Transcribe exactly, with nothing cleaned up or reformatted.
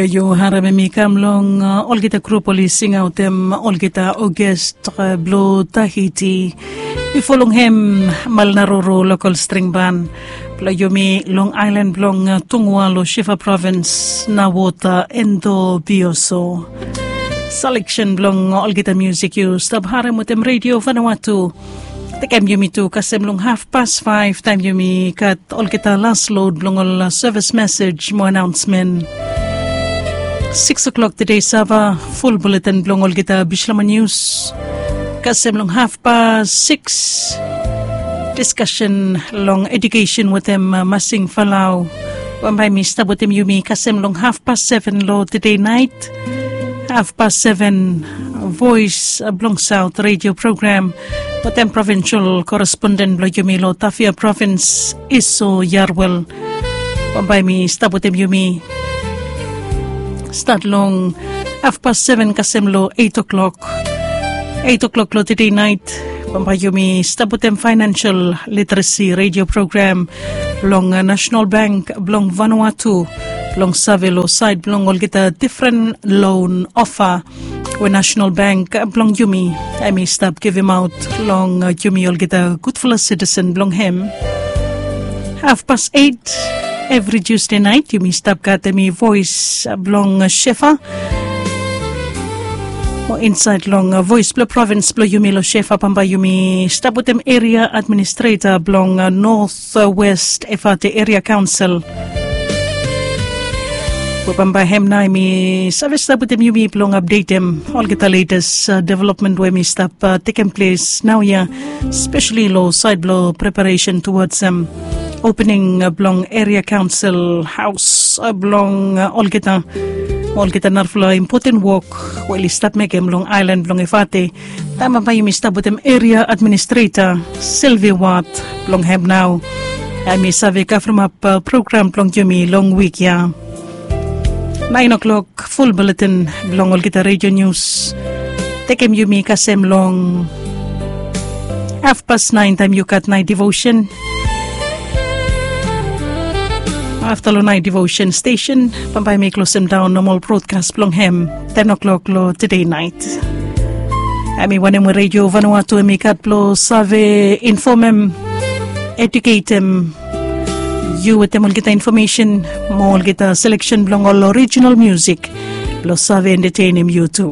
Yu harem em i kam long olgeta grup oli singaotem olgeta ogest blong Tahiti. Bifo long hem, Malnaroro lokal string ban blong yumi long ailan blong Tungua long Shifa provins na wota endo bioso. Seleksen blong olgeta musik yu stap harem wetem redio Vanuatu. Tekem yumi tu kasem long hafpas faef taem yumi gat olgeta las lod blong ol sevis mesej mo anaonsmen. Sikis oklok tede sava ful buletin blong olgeta Bislama nius. Kasem long hafpas sikis, diskasen long edukesen wetem Masing Falau. Bambae mi stap wetem yumi kasem long hafpas seven long tede naet. Hafpas seven, Voes blong Saot redio program wetem provinsol koresponden blong yumi long Tafea provins, Iso Yarwel. Bambae mi stap wetem yumi stat long hafpas seven kasem long eit oklok. Eit oklok long tede naet, bambae yumi stap wetem faenensel literesi redio program blong Nasenal Bank blong Vanuatu, blong save long saed blong olgeta difren lon ofa we Nasenal Bank blong yumi hem i stap givimaot long yumi olgeta gudfala sitisen blong hem. Hafpas eit evri Tiusde naet yumi stap gat hem i voes blong Shefa. Mo insaed long voes blong provins blong yumi long Shefa, bambae yumi stap wetem eria administreta blong North West Efate Eria Kaonsel. We bambae hem nao hem i save stap wetem yumi blong apdetem olgeta letes developmen we hem i stap tekem ples naoia, speseli long saed blong preparesen tuwads opening blong eria kaonsel haos blong olgeta, olgeta narafala impoten wok we oli stap mekem long aelan blong Efate. Taem bambae yumi stap wetem eria administreta Silvi Wat blong hem nao hem i save kavremap program blong yumi long wik ya. Naen oklok ful buletin blong olgeta redio nius. Tekem yumi kasem long hafpas naen taem yu gat naet devosen. Afta long naet devosen stesen bambae mi klosem daon nomol brodkas blong hem ten oklok long tede naet. Hem i wanem we redio Vanuatu hem i gat blong save infomem, eduketem yu wetem olgeta infomesen mo olgeta seleksen blong ol orijinal musik blong save entetenem yu tu.